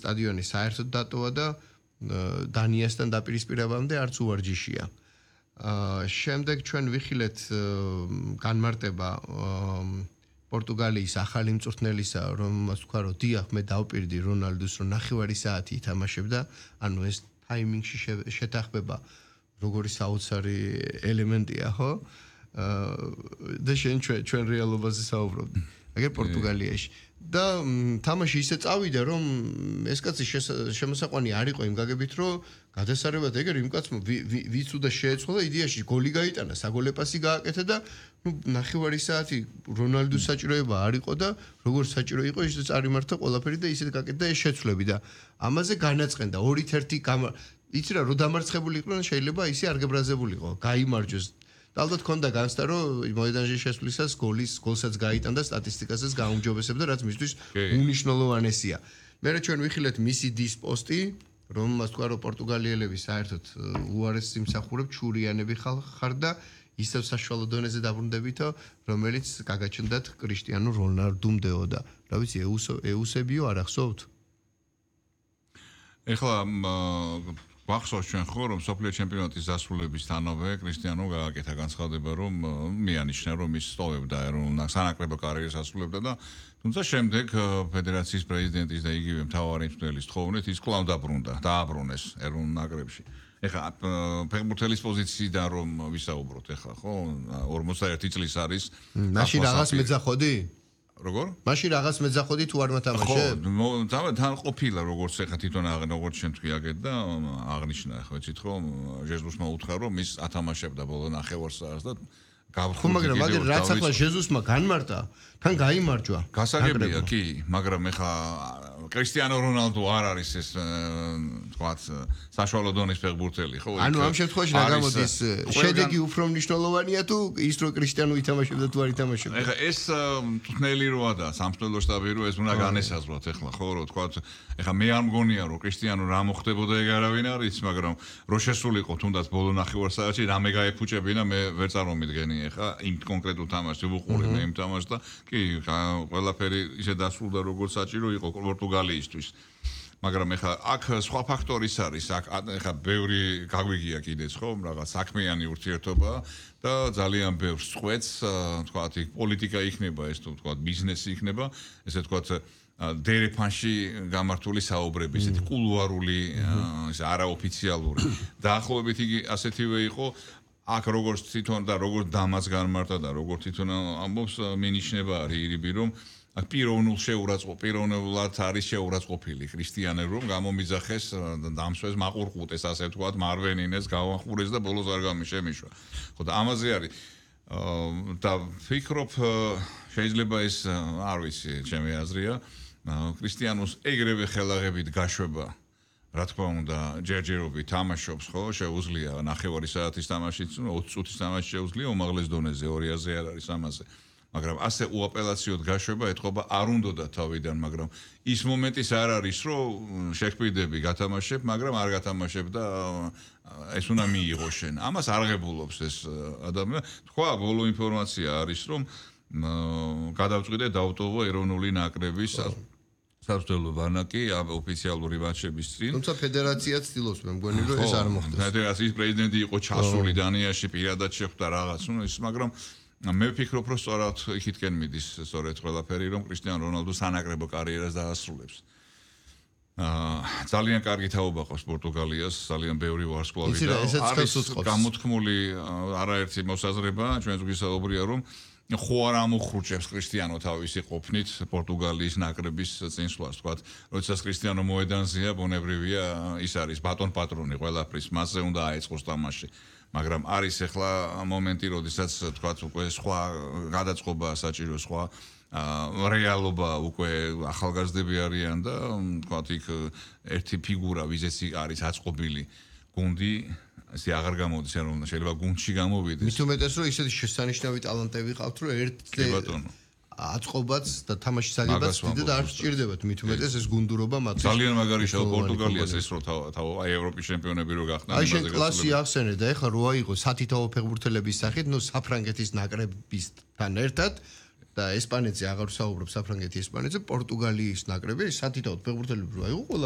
სტადიონი საერთოდ დატოვა და დანიასთან დაპირისპირებამდე არც უვარჯიშია. შემდეგ ჩვენ ვიხილეთ განმარტება პორტუგალიის ახალი მწვრთნელისა, რომელმაც თქვა, რომ დიახ, მე დავპირდი რონალდუს, რომ ნახევარი საათი ითამაშებდა, ანუ ეს ტაიმინგში შეთანხმება როგორი საოცარი ელემენტია, ხო? და ჩვენ რეალობაზე საუბრობთ. აგერ პორტუგალიაში. და თამაში ისე წავიდა, რომ ეს კაცი შემოსაყვანი არ იყო იმ გაგებით, რომ გადასარევად ეგერ იმ კაცმა ვიც უნდა შეეწყო და იდეაში გოლი გაიტანა, საგოლე პასი გააკეთა და ნახევარი საათი რონალდუს საჭიროება არ იყო და როგორც საჭირო იყო, ისე წარიმართა ყველაფერი და ისე გაკეთდა ეს შეცვლები და ამაზე განაწყენდა 2-1 იცი რა, რომ დამარცხებული იყვნენ, შეიძლება ისე არ გებრაზებულიყო, გაიმარჯვეს. და ალბათ ქონდა განცდა, რომ მოედანში შესვლისას გოლსაც გაიტანდა სტატისტიკასაც გაუმჯობესებდა, რაც მისთვის უნიშნულოვანესია. მერე ჩვენ ვიხილეთ მისი დის პოსტი, რომელმაც თქვა, რომ პორტუგალიელები საერთოდ უარეს იმსახურებ, ჩურიანები ხარ და ისევ საშუალო დონეზე დაბრუნდებითო, რომელიც გაგაჩნდათ კრისტიანო რონალდუმდეო და რა ვიცი, ეუსებიო არ ახსოვთ? ეხლა ვახსოვს ჩვენ ხო რომ სოფლიო ჩემპიონატის დასრულებისთანავე კრისტიანო გააკეთა განცხადება რომ მიანიშნა რომ ის სტოვებდა ეროვნულ სანაკრებო კარიერას ასრულებდა და თუმცა შემდეგ ფედერაციის პრეზიდენტის და იგივე მთავარი მწვრთნელის თხოვნით ის კვლავ დააბრუნეს ეროვნულ ნაკრებში. ეხლა ფეხბურთელის პოზიციიდან რომ ვისაუბროთ ეხლა ხო 41 წლის არის მაშინ რაღაც მეძახოდი? როგორ? მაშინ რაღაც მეძახოდი თუ არ მათამაშე? ხო, თან ყოფილა როგორც ეხა თვითონ როგორც შენ თქვი აგეთ და აღნიშნა ხო იცით რომ ჟეზუსმა უთხრა რომ ის ათამაშებდა ბოლო ნახევარ საათს და ხო მაგრამ რაც ახლა ჟეზუსმა განმარტა თან გაიმარჯვა გასაგებია კი მაგრამ ეხა კრისტიანო რონალდო არ არის ეს თქვათ საშუალო დონის ფეხბურთელი ხო ანუ ამ შემთხვევაში რა გამოდის შედეგი უფრო მნიშვნელოვანია თუ ის რომ კრისტიანო ითამაშებდა თუ არ ითამაშებდა ეხა ეს მწვრთნელი როა და სამწვრთნელო შტაბი რო ეს უნდა განესაზღვროთ ეხლა ხო რომ თქვათ ეხა მე არ მგონია რომ კრისტიანო რა მოხდებოდა ეგ არავინ არ იცის მაგრამ რო შესულიყო თუნდაც ბოლო ნახევარ საათში რამე გაეფუჭებინა მე ვერ წარმომიდგენი ეხა იმ კონკრეტულ თამაშს ვუყურე მე იმ თამაშს და კი ყველაფერი ისე დასრულდა როგორც საჭირო იყო პორტუგალიისთვის მაგრამ ეხა აქ სხვა ფაქტორიც არის აქ ეხა ბევრი გაგვიგია კიდეც ხო რაღაც საქმიანი ურთიერთობა და ძალიან ბევრ წვეთს თქვათ პოლიტიკა იქნება ეს თუ თქვათ ბიზნესი იქნება ესე თქვათ დერეფანში გამართული საუბრები ესეთი კულუარული ეს არაოფიციალური დაახლოებით იგი ასეთივე იყო აქ როგორც თვითონ და როგორც დამაც განმარტა და როგორც თვითონ ამბობს მინიშნება არის ირიბი რომ აქ პიროვნულად არის შეურაცხყოფილი კრისტიანე რომ გამომიძახეს დამსვეს მაყურყუტეს ასე ვთქვათ მარვენინეს გავახურეს და ბოლოს არ გამიშემიშვა ხო და ამაზე არის და ფიქრობ შეიძლება ეს არ ვიცი ჩემი აზრია კრისტიანოს ეგრევე ხელაღებით გაშვება რა თქმა უნდა ჯერჯერობით თამაშობს ხო შეუძლია ნახევარი საათის თამაშიც 20 წუთის თამაში შეუძლია უმაღლეს დონეზე 200-ზე არ არის ამაზე მაგრამ ასე უაპელაციოდ გაშვება ეთყობა არ უნდოდა თავიდან მაგრამ ის მომენტის არ არის რომ შექმედები გათამაშებ მაგრამ არ გათამაშებ და ეს უნდა მიიღო შენ ამას არღებულობს ეს ადამიანი თქვა ბოლო ინფორმაცია არის რომ გადავწყვიტე დავტოვო ეროვნული ნაკრების საბრძოლო ბანაკი ოფიციალური მატჩების წინ თუმცა ფედერაცია ცდილობს მე მგონი რომ ეს არ მოხდეს ფედერაციის პრეზიდენტი იყო ჩასული დანიაში პირადად შეხვდა რაღაც ის მაგრამ მე ვფიქრობ რომ სწორად იქითკენ მიდის სწორედ ყველაფერი რომ კრისტიანო რონალდო სანაკრებო კარიერას დაასრულებს ძალიან კარგი თაობა ყავს პორტუგალიას ძალიან ბევრი ვარსკვლავი და არის გამოთქმული არაერთი მოსაზრება ჩვენს გვისაუბრია რომ ხო არ ამოხრუჭებს კრისტიანო თავისი ყოფნით პორტუგალიის ნაკრების წინსვლას თქვათ როდესაც კრისტიანო მოედანზეა ბუნებრივია ის არის ბატონ პატრონი ყველაფრის მასზე უნდა აეწყოს თამაში მაგრამ არის ახლა მომენტი როდესაც თქვათ უკვე სხვა გადაწყობა საჭირო სხვა რეალობა უკვე ახალგაზრდები არიან და თქვათ იქ ერთი ფიგურა ვიზეც არის აწყობილი გუნდი ესე აღარ გამოდის რომ შეიძლება გუნდში გამოვიდეს მით უმეტეს რომ ისეთი შესანიშნავი ტალანტები ყავთ რომ ერთზე აწყობაც და თამაშის აგებაც დიდად არ სჭირდებათ მით უმეტეს ეს გუნდურობა მათ ძალიან მაგარი შევ პორტუგალიას ეს რო აი ევროპის ჩემპიონები რო გახდნენ აი შენ კლასი ახსენე და ეხლა რო აიღო სათითაო ფეხბურთელების სახით ნუ საფრანგეთის ნაკრებისთან ერთად და ესპანეთზე აღარ ვსაუბრობ საფრანგეთი ესპანეთზე პორტუგალიის ნაკრები სათითაო ფეხბურთელები რო აიღო ყველა